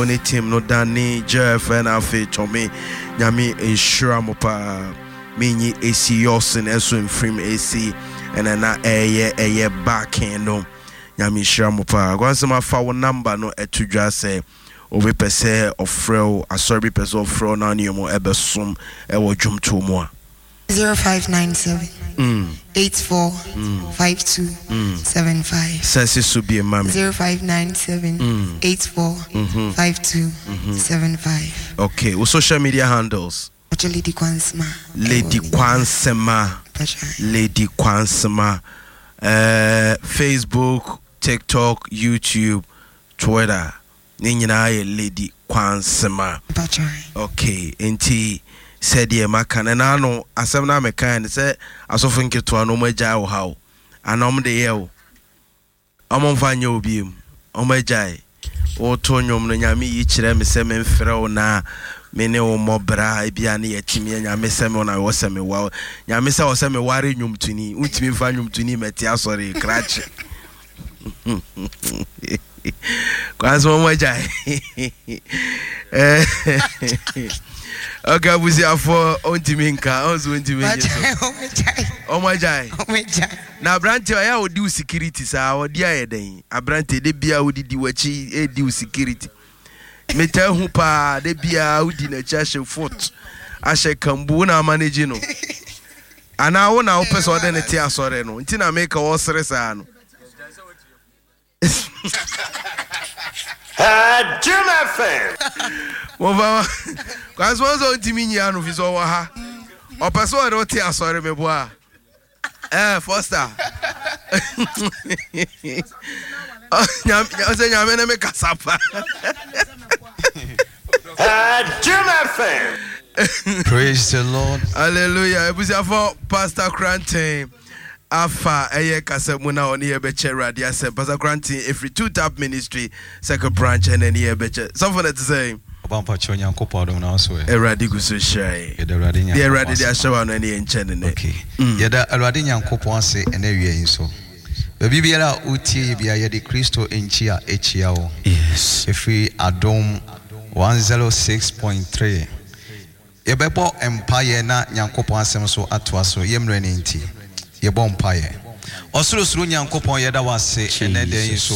Wo ne team no Danny, Jeff ɛna afei Tommy. Nyame nhyira mo paa. Menyi AC Yɔsen ɛso mfirim AC ɛna na ɛyɛ ɛyɛ backing no. Nyame nhyira mo paa. Kwansɛm afa wo number no ɛto dwa sɛ obi pɛ sɛ ɔfrɛ wo, asɔre bi pɛ sɛ ɔfrɛ wo na ne ɔmo ɛbɛsom ɛwɔ dwomtoɔ mu a. 0597 84 52 75. Sɛ si so bie ma me. 0597 84 52 75. Okay, wo social media handles? Pacho Lady Kwansema. Lady Kwansema. Lady Kwansema. Facebook, TikTok, YouTube, Twitter. Ne nyinaa yɛ Lady Kwansema. Okay, nti sɛdeɛ maka no na ano asɛm no a mekae no sɛ asɔfo nketewa no wɔn agyae wo ha o anaa wɔn de yɛ o wɔn mfa nyɛ obi mu wɔn agyae woto nnwom no Nyame yi kyerɛ me sɛ memfrɛ wo na me ne wo mmɔ bra ebia ne yɛtumi yɛ Nyame sɛ me na wɔ sɛ mewa Nyame sɛ wɔ sɛ meware nnwomtoni wontumi mfa nnwomtoni mɛte asɔre krakye. Kwan so wɔn agyae. Ok, abusuafoɔ ɔntumi nka ɔnso ɔntumi nye so. Wɔn agyae. Na aberante ɔyɛ a ɔdi wo security saa ɔde ayɛ dɛn? Aberante de bia ɔdidi w'akyi ɛdi wo security. Metaa hu paa de bia wodi n'akyi ahyɛ foot ahyɛ kambu wo na ama no gye no. Anaa wo na wopɛ sɛ ɔde ne te asɔre no nti na meka ɔsere saa no. Jim FM. Mofa kwan so sɛ ɔntumi nyi ano fi sɛ ɔwɔ ha. Ɔpɛ sɛ ɔde wote asɔre meboa. Foster. Ɔsɛ Nyame ne me kasa pa. Jim FM. Praise the Lord. Hallelujah. Ebusuafo Pastor Kranten afa ɛyɛ kasa mu na ɔne yɛ bɛkyɛ Awurade asɛm. Pastor Kranten efiri Two Tap Ministry Second Branch ɛna ɛne yɛ bɛkyɛ. Sɔfo na ɛte sɛ. Ɔba mpakyɛ Onyankopɔn adom na so ɛ. Awurade gu so hyira yɛ. Yɛda Awurade Nyankopɔn ase. Deɛ Awurade de ahyɛ wa no ɛne yɛ nkyɛ ne nɛ. Okay. Yɛda Awurade Nyankopɔn ase ɛnɛ awia yi nso. Baabi biara a wotie yɛ biara yɛde Kristo nkyia ɛkyia wo. Yes. Ɛfiri Adom 106.3. Yɛbɛbɔ mpaeɛ na Nyankopɔn asɛm nso atoa so, yɛ mmerɛ no nti. Yɛbɔ mpaeɛ. Ɔsorosoro Nyankopɔn, yɛda wo ase ɛnnɛ da yi nso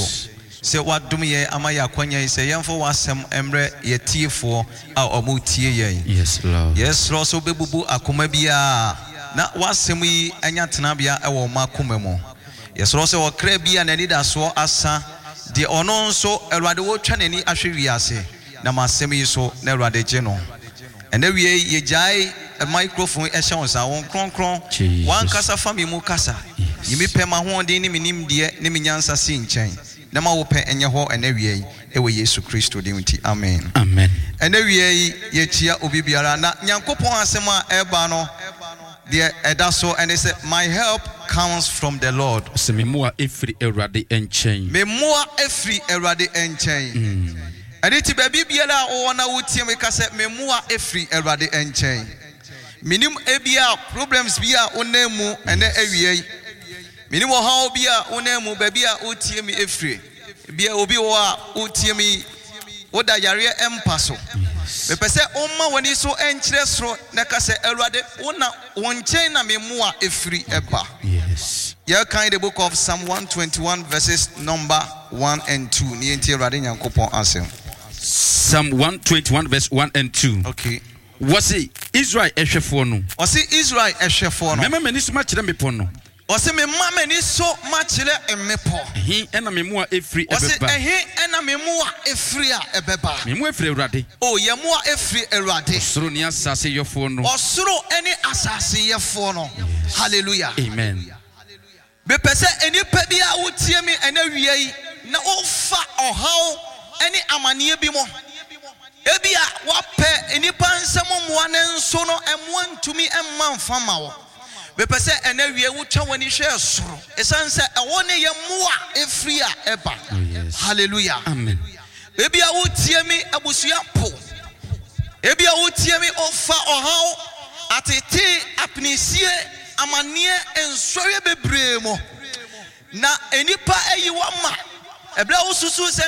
sɛ woadom yɛn ama yɛn akwanya yi sɛ yɛmfa w'asɛm mmrɛ yɛatiefoɔ a wɔretie yɛn. Yɛsrɛ wo sɛ wobɛbubu akoma biara na w'asɛm yi anya tenabea wɔ wɔn akoma mu. Yɛsrɛ wo sɛ ɔkra bi a n'anidasoɔ asa, deɛ ɔno nso, Awurade, ɔretwa n'ani ahwɛ wiase, Nam asɛm yi so na Awurade gye no. Ɛnɛ wiei yɛgyae microphone yi hyɛ wo nsa. Wo Kronkron, w'ankasa fa me mu kasa. Yi me pɛ, m'ahoɔden ne me nimdeɛ ne me nyansa si nkyɛn, na ma wo pɛ nyɛ hɔ ɛnɛ awia yi, wɔ Yesu Kristo din nti, amen. Amen. Ɛnɛ awia yi yɛkyia obi biara, na Nyankopɔn asɛm a ɛreba no, deɛ ɛda so ne sɛ, My help comes from the Lord. Ɔse, Me mmoa firi Awurade nkyɛn. Me mmoa firi Awurade nkyɛn. Ɛno nti baabi biara a wowɔ na wotie me ka sɛ, Me mmoa firi Awurade nkyɛn. Menim ebia problems bi a wonam mu ɛnɛ awia yi. Menim ɔhaw bi a wonam mu baabi a wotie me firi. Ebia obi wɔ hɔ a wotie me yi, woda yareɛ mpa so. Mepɛ sɛ woma w'ani so nkyerɛ soro na ka sɛ, Awurade, wo na wo nkyɛn na me mmoa firi ba. Yɛrekan the book of Psalm 121 verses number 1 and 2. Ne yɛntie Awurade Nyankopɔn asɛm. Psalm 121 verse 1 and 2. Okay. Wɔse Israel ɛhwɛfoɔ no. Wɔse Israel ɛhwɛfoɔ no. Mɛma m'ani so makyerɛ mmepɔ no. Ɔse, Mema m'ani so makyerɛ mmepɔ. Ɛhe na me mmoa firi Ɔse, ɛbɛba? Ɛhe na me mmoa firi a ɛbɛba? Me mmoa firi Awurade. O, yɛn mmoa firi Awurade. Ɔsoro ne asase yɔfoɔ no. Ɔsoro ne asase yɛfoɔ no. Hallelujah. Amen. Mepɛ sɛ nnipa bi a wotie me ɛnɛ awia yi na wofa ɔhaw ne amaneɛ bi mu. Ebia woapɛ nnipa nsam mmoa nanso no mmoa ntumi mma mfa mma wo. Mepɛ sɛ ɛnnɛ awia wotwa w'ani hwɛ soro, ɛsiane sɛ ɛhɔ ne yɛn mmoa firi a ɛba. Oh, Hallelujah. Amen. Ebia wotie me abusua po. Ebia wotie me ofa ɔhaw, atete, apinisie, amanneɛ, nsɔhwɛ bebree mu. Na nnipa ayi wo ama. Ɛberɛ a wosusu sɛ.